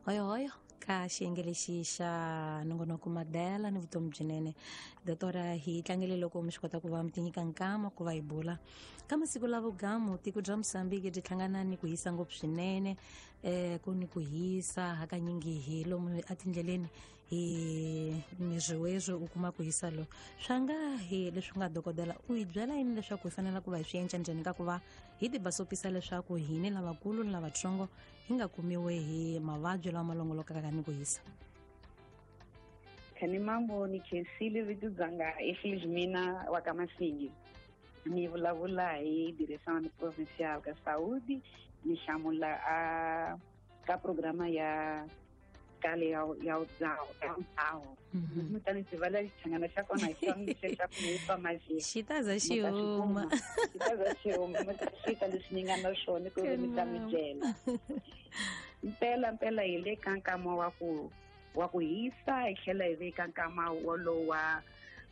Hoyohoyo ka xiyenge lexi xa nongonoko Madela ni vutomi byinene. Dotora, hi tlangele loko mi swi kota ku va mi tinyika nkama ku va hi bula ka masiku la vugamu. Tiko bya Mosambiki byi hlangana ni ku hisa ngopfu swinene, ku ni ku hisa hakanyingi hi lomu etindleleni hi miriwezwo u kuma ku hisa lo swa nga hi leswi nga. Dokodela, u hi byela yini leswaku hi fanele ku va hi swi endla njhani ka ku va hi tibasopisa leswaku hini lavakulu ni lavatsongo hi nga kumiwe hi mavabyi lawa ma longolokaka ni ku hisa? Khani mambo, ni khensile. Vito dzanga i Felizmina wa ka Masingi, ni vulavula hi Direção Provincial ka Saúde. Ni hlamula a ka programa ya kale ya udzaho. Mutani tiva xichangana xa kona hi xona lexi xa ku hi mazhi. Xi ta za xi huma. Xi ta za xi huma. Mi ta xita leswi ni nga na swona ku ri mi ta mi byela. Mpela mpela hi le ka nkama wa ku hisa, hi tlhela hi ve ka nkama wolowo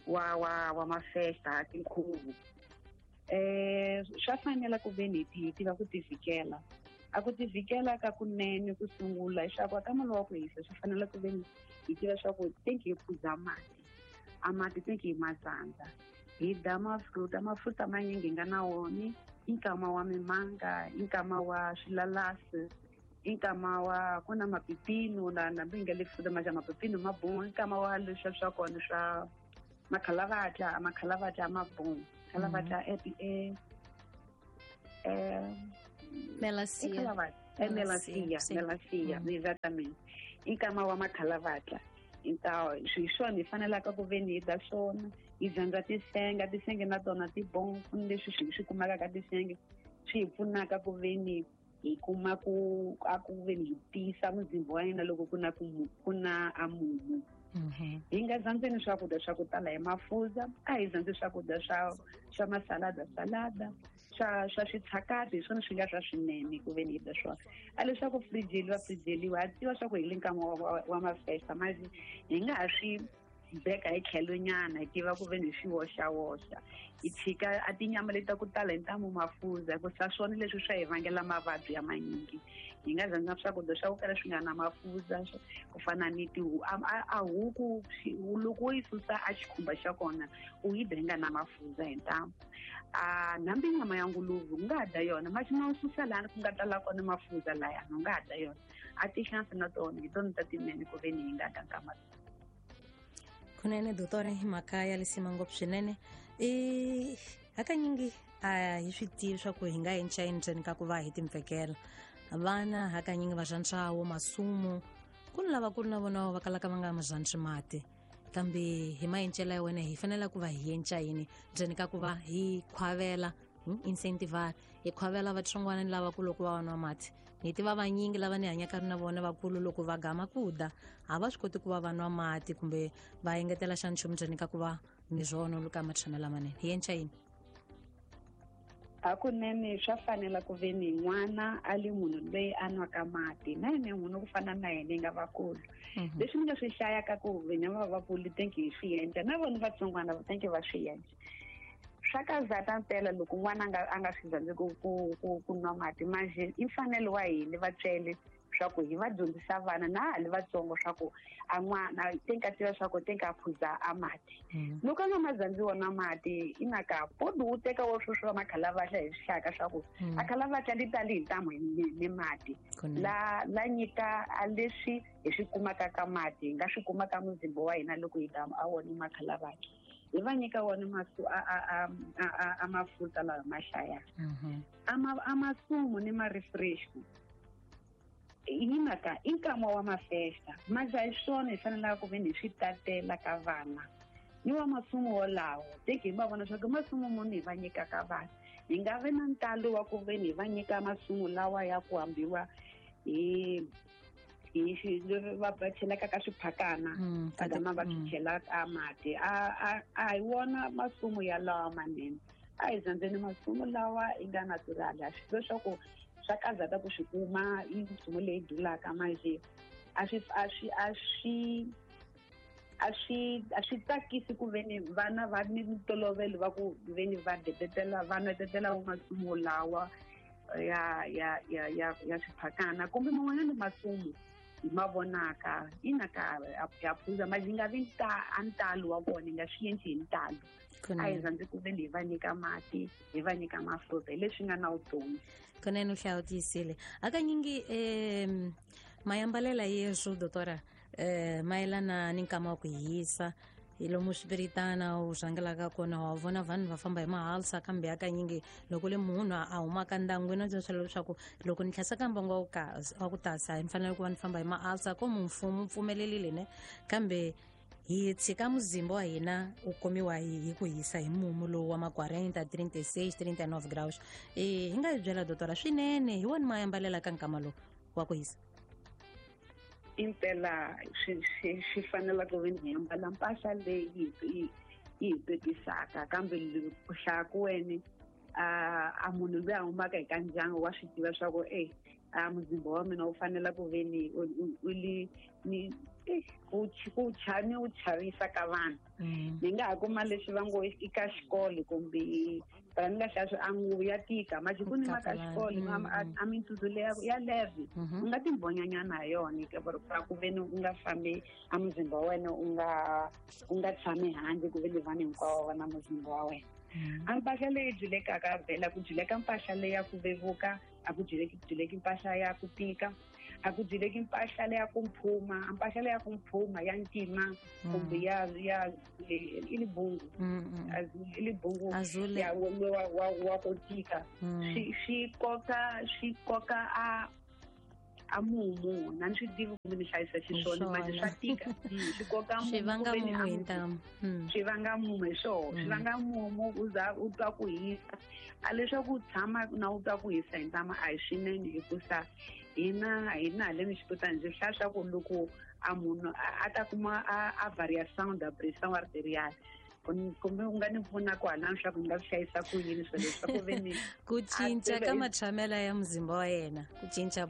wa mafesta, tinkhuvo. Swa fanela ku ve ni hi tiva ku tivikela. A ku tivikela ka kunene ku sungula leswaku aka malo wa ku hisa, swi fanele ku ve ni hi tiva swa ku tenki hi phuza mati, a mati tenki hi matsandza, hi dya mafruta. Mafruta manyingi hi nga na woni i nkama wa mimanga, i nkama wa swilalasi, i nkama wa ku na mapipino na nambi hi nga le fruta ma mapipino ma bomu, i nkama wa leswiya swa kona swa makhalavatla. Makhalavatla ma bomu, khalavatla e Melancia. É melancia, melancia, exatamente. I nkama wa makhalavatla. Então, hi swona hi fanelaka ku ve ni hi dya swona. Hi dyondza tisenga, tisenge na tona ti bon. Ku ni leswi swi kumaka ka tisenge swi hi pfunaka ku ve ni hi kuma ku a ku ve ni hi tiyisa muzimba wa hina loko ku na ku na a mumu. Hi nga zandzeni swakudya swa ku tala hi mafurha. A hi zandzi swakudya swa masalada, salada swa switshakati, hi swona swi nga swa swinene ku ve ni hi dya swona. A leswaku frijeliwa, frijeliwa, ha tiva swa ku hi le nkama wa mafesta masi, hi nga ha swi beka hi tlhelo nyana, hi tiva ku ve ni hi swi woxawoxa, hi tshika a tinyama leti ta ku tala hi ntamu mafurha, hikusa swona leswi swa hi vangela mavabyi ya manyingi. Hi nga zandza swakudya swa ku kala swi nga na mafurha, ku fana ni a huku. Loko wo yi susa a xikhumba xa kona, u yi dya yi nga na mafurha hi ntamu. A nambi nyama ya nguluve u nga ha dya yona masi ma u susa lani ku nga tala kona mafurha layani, u nga ha dya yona. A tihlampfi na tona hi tona ta tinene ku ve ni hi nga dya nkama. Kunene dotore, hi mhaka ya lisima ngopfu swinene. I hakanyingi a hi swi tivi swa ku hi nga endla yini ndzeni ka ku va hi timpfekela vana. Hakanyingi va rhandzawo masumu, ku ni lavakulu na vona va kalaka va nga ma rhandzi mati, kambe hi maencelo ya wena hi fanele ku va hi endla yini ndzeni ka ku va hi khwavela, incentive, hi khwavela vatsongwana ni lavakulu ku va va nwa mati? Ni tiva vanyingi lava ni hanyaka na vona vakulu, loko va gama ku da a va swi koti ku va va nwa mati kumbe va engetela xa nchumu ndzeni ka ku va ni swona ka matshamo lamanene. Hi endla yini? Hakunene swa fanela ku ve ni n'wana a li munhu loyi a nwaka mati, na yena munhu ku fana na yena nga vakulu. Leswi ni nga swi hlayaka ku vena va vakulu tenki hi swi endla, na vona vatsongwana va tenki va swi endla. Swa kazata mpela loko n'wana a nga swi rhandzi ku nwa mati manje, i mfanelo wa hina vatswele swa ku hi va dyondzisa vana na ha li vatsongo swa ku a n'wana tenka tiva swa ku tenka a phuza a mati. Loko a nga ma zandzi wona mati, i maka podi wu teka wo sweswo wa makhalavatla, hi swi hlaka swa ku a khalavatla li tali hi ntamu ni mati. La nyika a leswi hi swi kumaka ka mati, hi nga swi kuma ka muzimba wa hina loko hi dama a wona makhalavatla. Hi va nyika wona masu a mafuta lawa ma hlayaka a masumu ni ma-refresh. Hi mhaka i nkama wa mafesta manje, a hi swona hi fanelaka ku ve ni hi swi tatela ka vana ni wa masumu wolawo. Teki hi va vona swa ku masumu muni hi va nyikaka vana. Hi nga vi na ntalo wa ku ve ni hi va nyika masumu lawa ya ku hambiwa hi va chelaka ka swiphakana, va gama va swi chela ka mati. A hi wona masumu yalawa manene. A hi zandzeni masumu lawa yi nga natural. A swi leswaku swa kazata ku swi kuma, i nchumu leyi dulaka manje, a swi tsakisi ku ve ni vana va ni ntolovelo va ku ve ni va detetela, va nwetetela masumu lawa ya swiphakana kumbe man'wanyana masumu. hi ma vonaka ina ka ya phuza ma nga vi a ntalo wa vona hi nga swi endli hi ntalo. A hi rhandzi ku veni hi va nyika mati, hi va nyika mafurha hi leswi nga na vutomi. Kunene u hlaya u tiyisile. Hakanyingi mayambalela yeswo doctora mayelana ni nkama wa ku hisa hi lomu swipiritana u rhangelaka kona wa vona vanhu va famba hi mahalsa, kambe hakanyingi loko le munhu a humaka ndyangwini a byela leswaku loko ni tlhasa mbangu wa ku tasa ni fanele ku va ni famba hi mahalsa ko mfumo pfumelelile ne, kambe hi tshika muzimba wa hina u komiwa hi ku hisa hi mumu lowu wa ma 40 36 39 graus. Hi nga hi byela doctora swinene hi wona mayambalela ka nkama lowu wa ku hisa? Impela swi fanela ku ve ni ambala mpahla leyi yi hi petisaka, kambe ku hlaya ku wena a munhu loyi a humaka eka ndyangu wa swi tiva swa ku a muzimba wa mina wu fanela ku ve ni u li ni ku ni wu chavisa ka vanhu. Ni nga ha kuma leswi va ngo i ka xikolo kumbe phela ni nga hlaya swi a nguvu ya tika masiku ni ma ka xikolo a mintutsu leya ya leve u nga timbonyanyana ha yona ra ku ve ni u nga fambi a muzimba wa wena u nga tshami handle ku ve ni vanhu hinkwavo va na muzimba wa wena. A mpahla leyi dyulekaka vhela ku dyuleka mpahla leyi ya ku vevuka, a ku dyuleki mpahla ya ku tika, a ku dyuleki mpahla leya ku mphuma, a mpahla leya ku mphuma ya ntima kumbe ya i libungu i libungu ya wa ku tika swi koka a mumu na ni swi tivi kumbe ni hlayisa xiswona manje swa tika swi koka mumu swi vanga mumu hi ntamu swi vanga mumu hi swona swi vanga mumu u za u twa ku hisa. A leswaku u tshama na u twa ku hisa hi ntamu a hi swinene hikusa hina haleni xiputani ndzi hlaya swa ku loko a munhu a ta kuma a variation da pression arterial kumbe u nga ni pfuna kwalano swa ku ni nga swi hlayisa ku yini swilo leswi swa ku ve ni ku cinca ka matshamela ya muzimba wa yena, ku cinca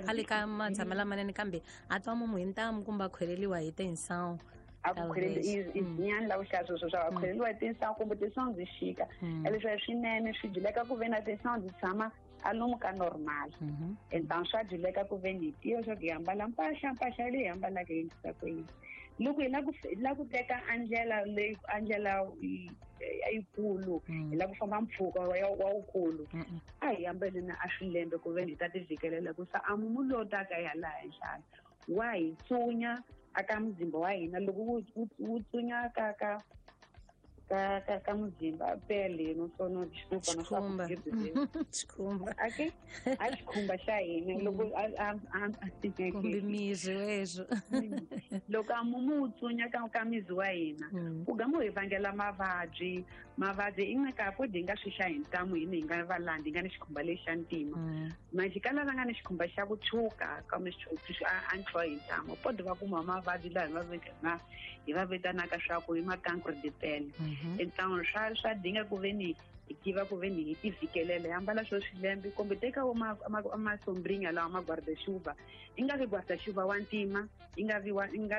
a le ka matshamela manene kambe a twa mumu hi ntamu kumbe a khweleliwa hi tinsawu. A ku khwelelinyani la ku hlaya sweswo swa a khweleliwa hi tinsawu kumbe tinsawu ndzi xika leswi swinene swi dyuleka ku ve na tinsawu ndzi tshama a lomu ka normal. Enta swa dyuleka ku ve ni tiva swa ku hi ambala mpahla leyi hi ambalaka yi endlisa ku yini. Loko hi la ku teka a ndlela leyi a ndlela yikulu hi la ku famba mpfhuka wa wukulu a hi ambaleni a swilembe ku ve ni hi ta tivhikelela ku sa a mumu lowu taka hi hala henhla wa hi tsunya aka muzimba wa hina. Loko wu tsunya ka ka ka ka ka muzimba pele no sono xikhumba xikhumba okay a xikhumba xa hina loko a kumbe miri weswo loko a mumu wu tsunya ka mizi wa hina ku gama hi vangela mavabyi i nga ka podi hi nga swi hlaya hi ntamu hina hi nga valandi hi nga ni xikhumba lexi xa ntima manje ka lava nga ni xikhumba xa ku tshuka kambe a ntlho hi ntamu podi va kuma mavabyi laha hi va vitanaka swa ku i ma-cancre de pele. Ntamu swa dinga ku ve ni hi tiva ku ve ni hi tivhikelela hi ambala swo swilembe kumbe teka wo masombrinha lawa ma guarda-chuva i nga vi guarda-chuva wa ntima i nga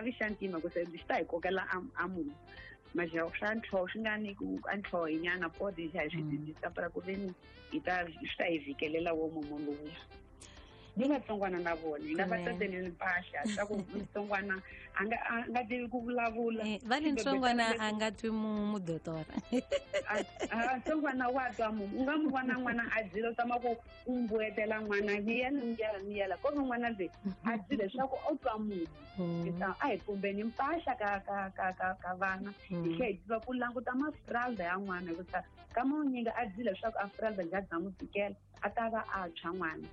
vi xa ntima ku se xi ta hi kokela a mumu manje swa ntlho swi nga ni ku a ntlho hi nyana podi hi swi dyondzisa para ku ve ni hi ta swi ta hi vhikelela wo mumu lowuya. Ni vatsongwana na vona hi nga va tateleli mpahla swa ku mutsongwana a nga tivi ku vulavula va le ntsongwana a nga twi mumu doctora ntsongwana wa twa mumu u nga mu vona n'wana a dzila u tama ku u mbuetela n'wana miyela miyela miyela ko ve n'wana loyi a dzile leswaku u twa mumu. A hi pumbeni mpahla ka ka ka ka ka vana hi tlhela hi tiva ku languta mafralda ya n'wana hikusa ka manyingi a dzile leswaku a fralda bya bya n'wi tikela a ta va a tshwa n'wana.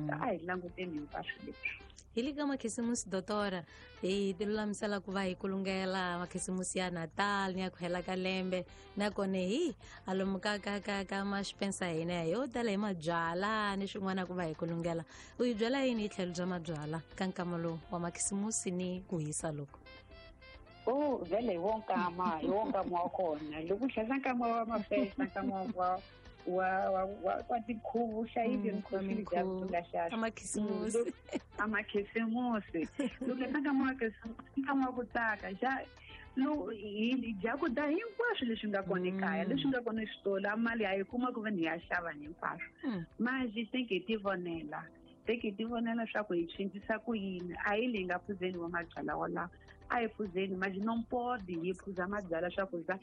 A hi languteni hinkwaswo leswi. Hi le ka makhisimusi doctora hi ti lulamisela ku va hi kulungela makhisimusi ya Natal ni ya ku hela ka lembe nakona hi a lomu ka ka ka ka maxpensa hina yo tala hi mabyala ni swin'wana ku va hi kulungela. U hi byela yini hi tlhelo bya mabyala ka nkama lowu wa makhisimusi ni ku hisa loko? Oh vele hi wo nkama wa kona loko u hlayisa nkama wa mafesta nkama wa wa tikhuvu hlayile mikhuvu amakhisimusi amakhisimusi loko nkama wa khisimusi nkama wa ku tsaka xa hi dya ku dya hinkwaswo leswi nga kona ekaya leswi nga kona exitolo a mali a yi kuma ku ve ni ya xava hinkwaswo manje se hi ti vonela. Teki hi ti vonela swa ku hi cincisa ku yini. A hi leyi nga phuzeni wa mabyalwa walawo, a hi phuzeni manje no pode hi phuza mabyalwa swa ku za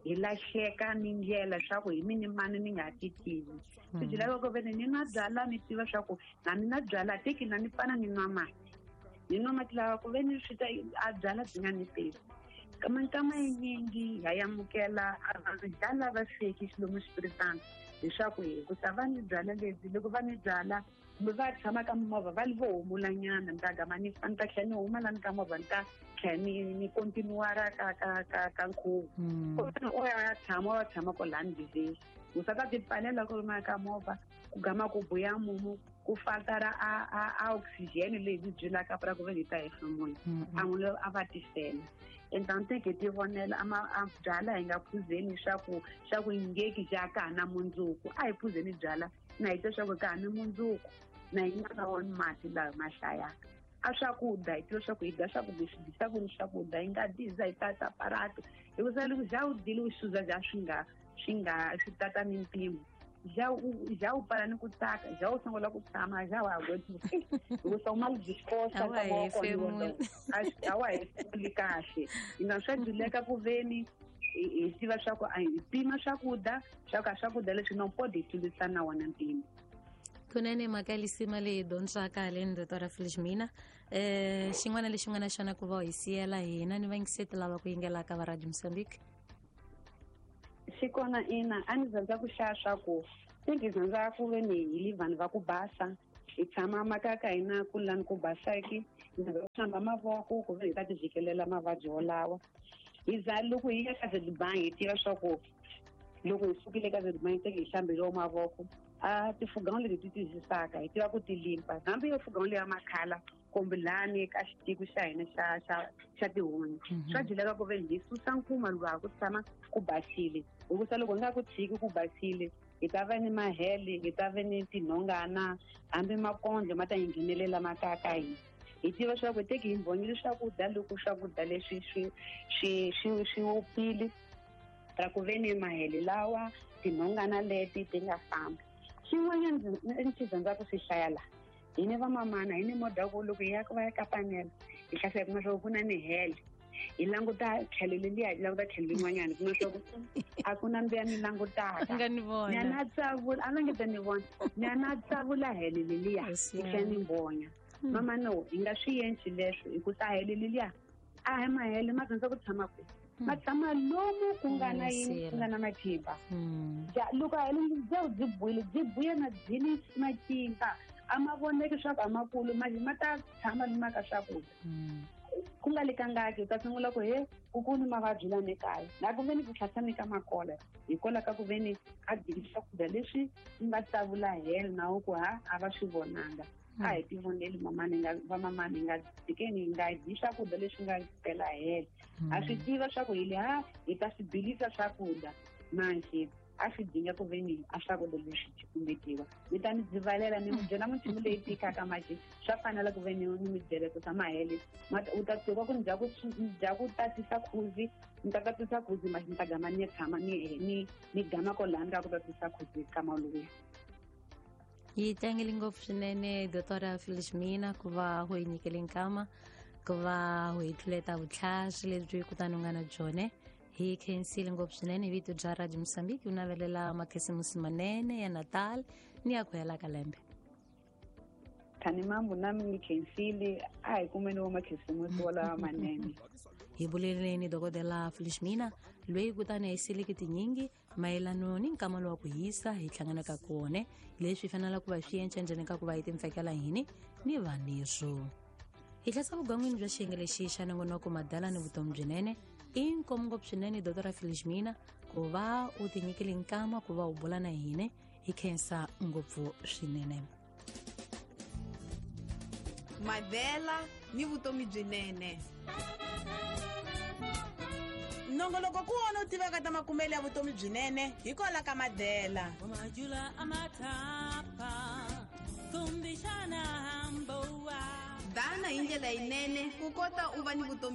hi lahleka ni ndlela swa ku hi mini mani ni nga ti tivi. Swi byi lava ku veni ni nwa byalwa ni tiva swa ku na ni nwa byalwa teki na ni pfana ni nwa mati. Ni nwa mati lawa ku veni swi ta a byalwa byi nga ni tivi. Minkama yinyingi ha amukela a vanhu ja lava sweki xilomu xipiritana leswaku hikusa va ni byalwa lebyi loko va ni byala kumbe va tshama ka mimovha va vo humulanyana ni ta gama ni ni ta tlhela ni huma lani ka movha ni ta tlhela ni continuara ka nkhuvo. O ya tshama o ya tshama kwalani ndleleni u sa ta ti pfalela ku ri ka movha ku gama ku buya mumu ku fatara a oxygen leyi byi byelaka pra ku ve hi ta hefemula a n'wi a va tisela. Então teke ti vonela a byala hi nga phuzeni swa ku ngeki ja ka na mundzuku. A hi phuzeni byala na hi twa swa ku ka ha ni mundzuku na hi nga voni mati lawa ma hlayaka. A swakudya hi tiva swa ku hi dya swakudya swi dyisaka ni swakudya hi nga dyi za hi tata aparato hikusa loko ja u dyile u xuza ja swi nga swi tata ni mpimo ja u pfala ni ku tsaka ja u sungula ku tshama ja wa ha hikusa u mal disposta A wa nkama wa kona hefemuli. A wa hefemuli kahle. Hina swa dyuleka ku veni hi tiva swa ku a hi pima swakudya swa ku a swakudya leswi no pode hi tlulisa na wona mpimo. Kunene mhaka lisima leyi dyondzaka haleni Dr Felizmina, xin'wana lexi nga na xona ku va hi siyela hina ni vayingiseti lava ku yingelaka va Radio Mozambique? Xi kona ina, a ni rhandza ku hlaya swa ku se ngi rhandza ku ve ni hi li vanhu va ku basa hi tshama makaya ka hina ku lani ku basaki hi rhandza ku hlamba mavoko ku ve hi ta ti vhikelela mavabyi wolawa. Hi za loko hi ya ka Zedbank hi tiva swa ku loko hi sukile ka Zedbank teke hi hlambeliwa mavoko a tifuganga leti ti tiyisisaka hi tiva ku ti limpa hambi yo fuganga leya makhala kumbe lani ka xitiko xa hina xa tihunyi swa dyileka ku ve hi susa nkuma luwa ku tshama ku basile hikusa loko hi nga ku tshiki ku basile hi ta va ni mahele hi ta va ni tinhongana hambi makondlo ma ta hi nghenelela makaya ka hina. Hi tiva swa ku teki hi mbhonyile swakudya loko swakudya leswi swi wupfile ra ku ve ni mahele lawa tinhongana leti ti nga famba. Xin'wanyana ni xi rhandza ku swi hlaya laha hi ni vamamana hi ni modha ku loko hi ya va ya ka panela hi hlasela kuma swa ku na ni hele hi languta tlhelo leliya hi languta tlhelo lin'wanyana kuma swa ku a ku na mbiya ni langutaka nga ni vona ni ya na tsavula a va nge ta ni vona ni ya na tsavula hele leliya hi tlhela ni mbonya. Mama no hi nga swi endli leswo hikusa hele leliya a hi mahele ma rhandza ku tshama kwihi ma tshama lomu ku nga na yini ku nga na matimba. Ja loko hele bya byi buile byi buya na byini matimba a ma voneki swa ku a makulu ma ta tshama ni maka swakudya ku nga lekangaki u ta sungula ku he ku ni mavabyi lani ekaya na ku ve ni ku tlhatlhani ka makola hikwalaho ka ku ve ni a dyile swakudya leswi nga tsavula helo na ku ha a va swi vonanga. A hi ti voneli mamani nga vamamani hi nga tshikeni hi nga dyi swakudya leswi nga pela helo. Ha swi tiva swa ku hi le ha hi ta swi bilisa swakudya manje a swi dinga ku ve ni a swakudya leswi cukumetiwa. Ni ta ni dzivalela ni mi byela minchumu leyi tikaka manje swa fanela ku ve ni mi byela ku tshama hele u ta tiva ku ni dya ku tatisa khuzi ni ta tatisa khuzi manje ni ta gama ni ya tshama ni gama kwalani ka ku tatisa khuzi ka maluya. Yi tlangele ngopfu swinene Dr Felizmina ku va u hi nyikele nkama ku va u hi tluleta vutlhari lebyi kutani u nga na byone. Hi khensile ngopfu swinene hi vito bya Radio Mozambique u navelela makhisimusi manene ya Natal ni ya ku hela ka lembe. Thani mambo nami ni khensile a hi kumeni wa makhisimusi walawa manene. Hi buleleni dokodela Felizmina loyi kutani a yiseleke tinyingi mayelano ni nkama lowa ku hisa hi hlanganaka kone leswi fanelaka ku va swi enca ndzeni ka ku va hi timpfekela hini ni vanirho. Hi hlasa vugangwini bya xiyenge lexi xa nongonoko madala ni vutomi byinene i nkomu ngopfu swinene Dr Felizmina ku va u tinyikile nkama ku va u bula na hine hi khensa ngopfu swinene. Madela ni vutomi byinene. Nongoloko ku wona u tivaka ta makumelo ya vutomi byinene hikwalaho ka Madela. Dana hi ndlela yinene ku kota u va ni vutomi.